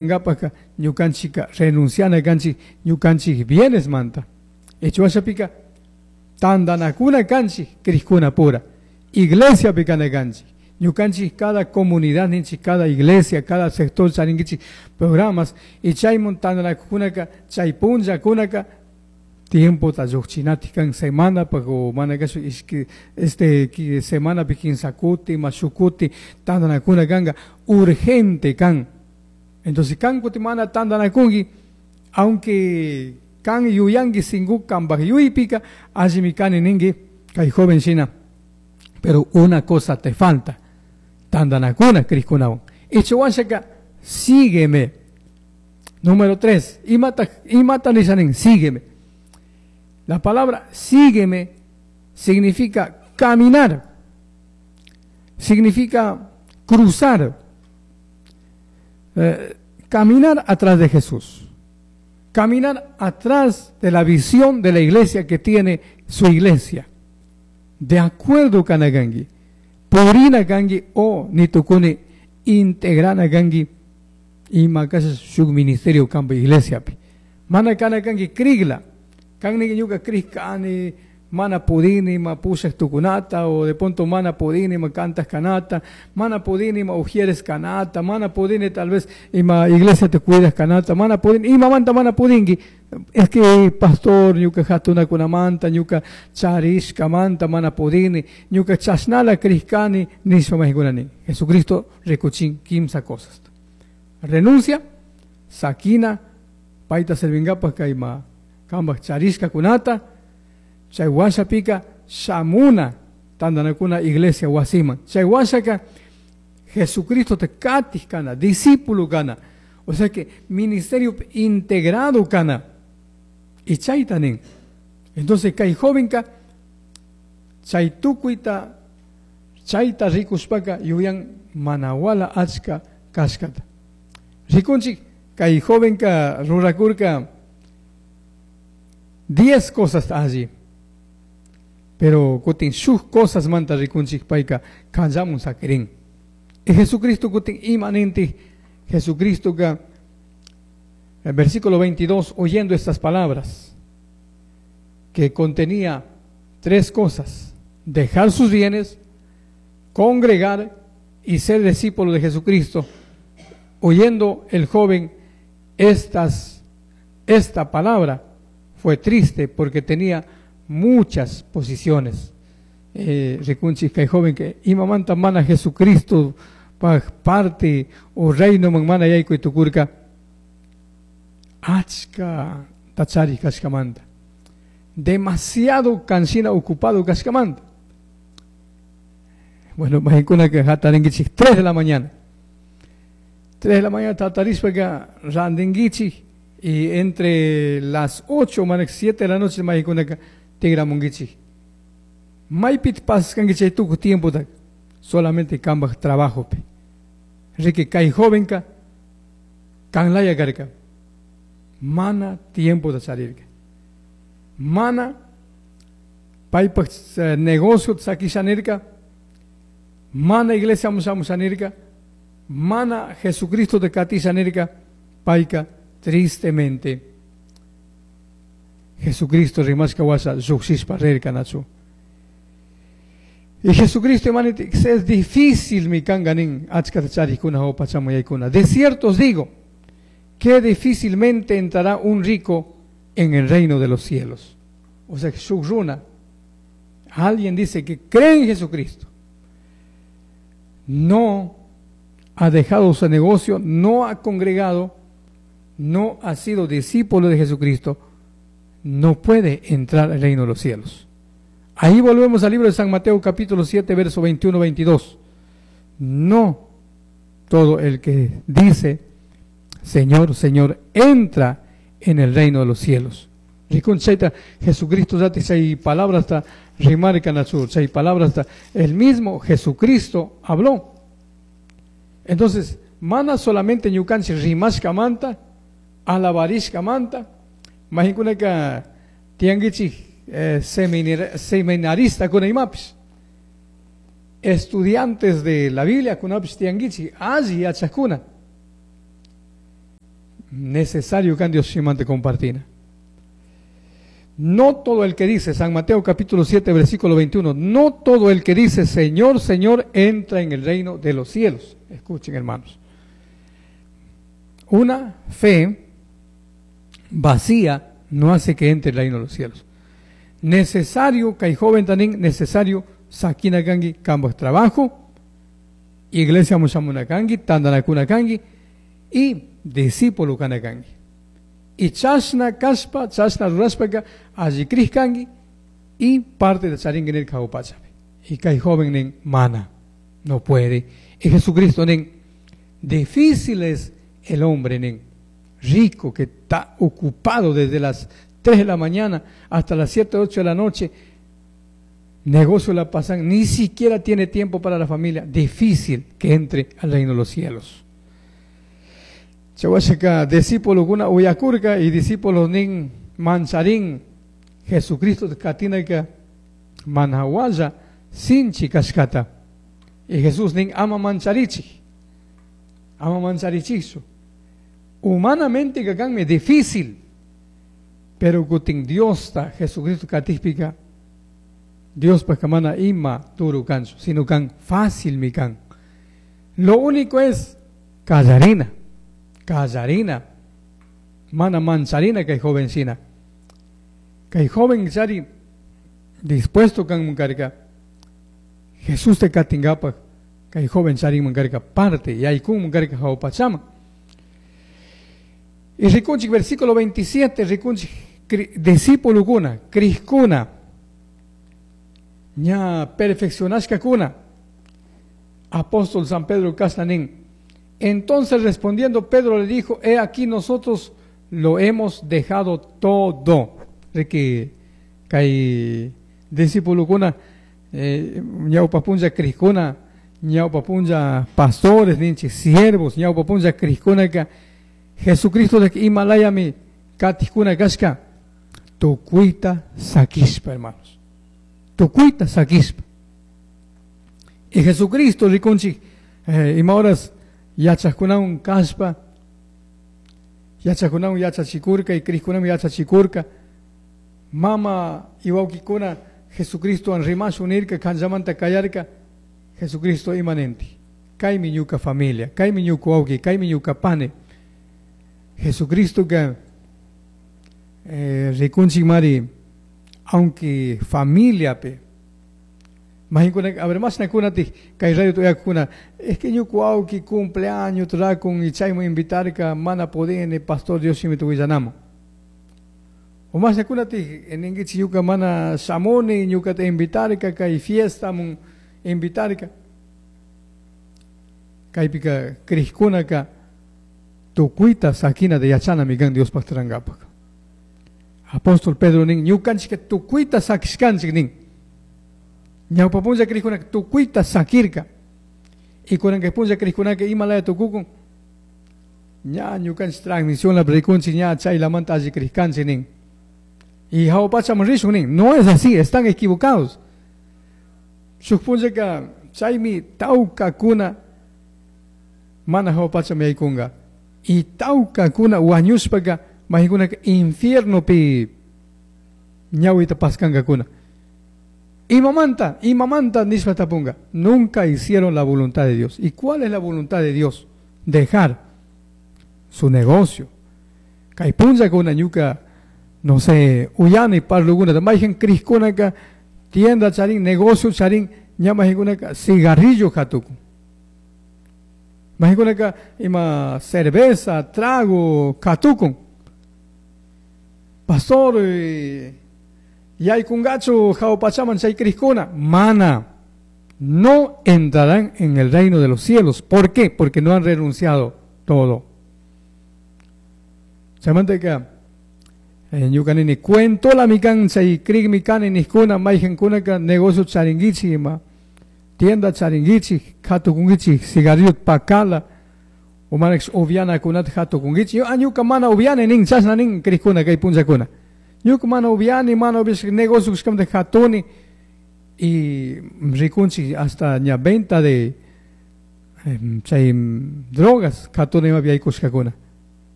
Ngapaka ñukanchika renunciana kanchik ñukanchik bienes manta. Echuashapika tandanakuna kanchik krikuna pura. Iglesia pikana kanchik. Ñukanchik cada comunidad ninchik, cada iglesia, cada sector charinkichik programas y chaymun tandanakunaka chay punllakunaka tiempo ta lluqchinatik kan semana o mana kashu ishki este semana pi kimsa kuti ima shuk kuti tandanakuna kanka urgente kan. Entonces kan kuti mana tandanakunki, aunque kan yuyanki sinku kanpaj yuypika allimi kani ninki kay joven shina, pero una cosa te falta, tandanakuna krikkunawan. Ichawashaka sígueme. Número 3, imata, imata nishanin, sígueme. La palabra sígueme significa caminar, significa cruzar, caminar atrás de Jesús, caminar atrás de la visión de la iglesia que tiene su iglesia. De acuerdo kanagangi, purina gangi o nitukuni integrana gangi ima kasha shuk ministerio kampa iglesia pi. Mana kana kangi krigla, kanni ñuka krikani mana pudini ma pushak tukunata o de pronto mana pudini ma cantas kanata, mana pudini ma ujieres kanata, mana pudini tal vez ima iglesia te cuidas kanata, mana pudini ima manta mana pudingi. Es que pastor ñuka hatuna kunamanta, ñuka charishka manta mana pudini, ñuka chasnala krikani nishpa mahikunani. Jesucristo rikuchin kimsa cosas. Renuncia, sakina, paita servingapa kayma kambaj charishka kunata, chay washapika shamuna tandanakuna iglesia wasiman. Chay washaka Jesucristo te katis kana, discípulo kana. O sea que ministerio integrado kana. Y chayta nin. Entonces kay jovenka chay tukuyta chayta rikushpaka yuyan manawala achka kashkata. Rikunchik kay jovenka rurakurka 10 cosas allí. Pero kutin shuk cosas manta rikunchik payka kanllamun sakirin. Y Jesucristo kutin imanente Jesucristo ka el versículo 22, oyendo estas palabras que contenía tres cosas: dejar sus bienes, congregar y ser discípulo de Jesucristo. Oyendo el joven esta palabra, fue triste porque tenía muchas posiciones. Rikunchik kay joven que imamanta mana Jesucristo pa parte o reino man mana yaykuy tukurka achka tachari kashkamanta, demasiado cansina ocupado kashkamanta. Bueno, mahinkuna que hatarinkichik 3 de la mañana. 3 de la mañana tatarishpa que randinkichik y entre las 8 manak 7 de la noche mahinkuna que tigramunkichik. Maypit paskanki chay tukuy tiempo ta solamente kambaj trabajo pi. Rique kay jovenka kanlaya karka. Mana tiempo de salirka. Mana paypaj negocio sakishanirka. Mana iglesia musamusanirka. Mana Jesucristo de katishanirka. Payka tristemente Jesucristo rimashka washa lluqshishpa rirka nachu. Y Jesucristo, hermano, es difícil mi kanganin achka charikuna o pachamuyaykuna. De cierto os digo que difícilmente entrará un rico en el reino de los cielos. O sea, shuk runa, alguien dice que cree en Jesucristo, no ha dejado su negocio, no ha congregado, no ha sido discípulo de Jesucristo, no puede entrar al reino de los cielos. Ahí volvemos al libro de San Mateo capítulo 7, verso 21-22. No todo el que dice, Señor, Señor, entra en el reino de los cielos. Rikunchayta, Jesucristo ya te hay palabras hasta rimarcan a su, hay palabras hasta el mismo Jesucristo habló. Entonces, mana solamente ñukanchik rimashka manta, alabarishka manta, mahinkunaka tianguichik seminarista kuna imapis, estudiantes de la Biblia kunapis tianguichik, alli yachakuna. Necesario kan Dios shimante compartina. No todo el que dice, San Mateo capítulo 7, versículo 21, no todo el que dice Señor, Señor, entra en el reino de los cielos. Escuchen, hermanos. Una fe vacía no hace que entre el reino de los cielos. Necesario, kay joven tanin, necesario, sakina kanki, cambos trabajo, iglesia mushamuna kanki, tandanakuna kanki, y discípulo kana kanki. Y chashna kashpa, chashna rurashpaka, alli krij kanki, y parte de charingi nirka jawpachapi. Y kay joven nin, mana, no puede. Y Jesucristo nin, difícil es el hombre nin, rico que está ocupado desde las 3 de la mañana hasta las 7, 8 de la noche, negocio la pasan, ni siquiera tiene tiempo para la familia, difícil que entre al reino de los cielos. Chawashaka, discípulo kuna uyakurka y discípulos nin mancharín, Jesucristo katinaka manhawaya sinchi kashkata. Y Jesús nin ama mancharichi, ama mancharichichu. Humanamente kakanme difícil, pero kutin Dios ta Jesucristo katijpika, Dios pa kamana ima turu kanchu, sino kan fácil mi kan. Lo único es callarina, callarina, mana mancharina kay jovencina. Kay joven chari dispuesto kan munkarka, Jesús te katingapa, kay joven chari munkarka parte, y aykun munkarka jawpachama. Y rikunchik versículo 27, rikunchik discípulo kuna, krishkuna, ña perfeccionashka kuna. Apóstol San Pedro kasnanin. Entonces respondiendo Pedro le dijo, he aquí nosotros lo hemos dejado todo. Riki kay discípulo kuna, ñawpa punlla krishkuna, ñawpa punlla pastores, ninchi siervos, ñawpa punlla krishkuna ka Jesucristo de Himalaya mi katijkuna kashka, tukuita sakishpa, hermanos. Tukuita sakishpa. Y Jesucristo rikunchik ima horas yachajkunawan kashpa, yachajkunawan yachachikurka y krishkunawan yachachikurka, mama y wawkikuna Jesucristo an rimash unirka, kanllamanta kayarka, Jesucristo imanente. Kaymi ñuka familia, kaymi ñuka wawki, kaymi ñuka pane. Jesucristo que rikunchik mari, aunque familia pe, mahinkuna, a ver, más nakuna ti, kay radio tuyakuna, es que ñuka wawki cumpleaños trakun y chayman invitarka, mana podene, pastor Dios shimi tuwillanamo. O más nakuna ti, ningichi ñuka mana shamuni, ñuka te invitarka, kay fiesta mun invitarka. Kaypika krishkunaka tukuita sakina de yachana migan Dios pactarangapak. Apóstol Pedro nin ñukanchik tukuita sakishkanchik nin. Ñawpa punlla krishkunaka tukuita sakirka. Y kunan punlla krishkunaka imalaya tukukun. Ña ñukanchik transmisión la predikunchik ña chaylamanta alli krishkanchik nin. Y jawpachaman rishun nin. No es así, están equivocados. Shuk punllaka chaymi tawka kuna mana jawpachaman yaykunga. Y tawka kuna wañushpaka mahikunaka infierno pi ñawita paskanka kuna. Imamanta, imamanta nishpa tapunga. Nunca hicieron la voluntad de Dios. ¿Y cuál es la voluntad de Dios? Dejar su negocio. Kay punlla kuna ñuka, no sé, uyani parluguna, maijen kriskunaka, tienda charin, negocio charin, ña mahikunaka, cigarrillo hatuku. Mahikunaka, ima cerveza, trago, katukun. Pastor, yaykungachu, jawpachaman chay kriskuna, mana, no entrarán en el reino de los cielos. ¿Por qué? Porque no han renunciado todo. Chamanteca, ñukanini cuento la mikan chay krik mikani niskuna, maijen kunaka, negocio charinguichi, ima, tienda charinguichi, katukunguichi, cigarrillo pakala, umanex uviana kunat hatukunguichi. Yo, ñuka mana uviane nin, chasna nin kriskuna kay punchakuna. Ñuka mana uviani, mana uvish, negocio de hatuni, y rikunchi hasta ña venta de chay drogas, hatuni ma viaykushkakuna.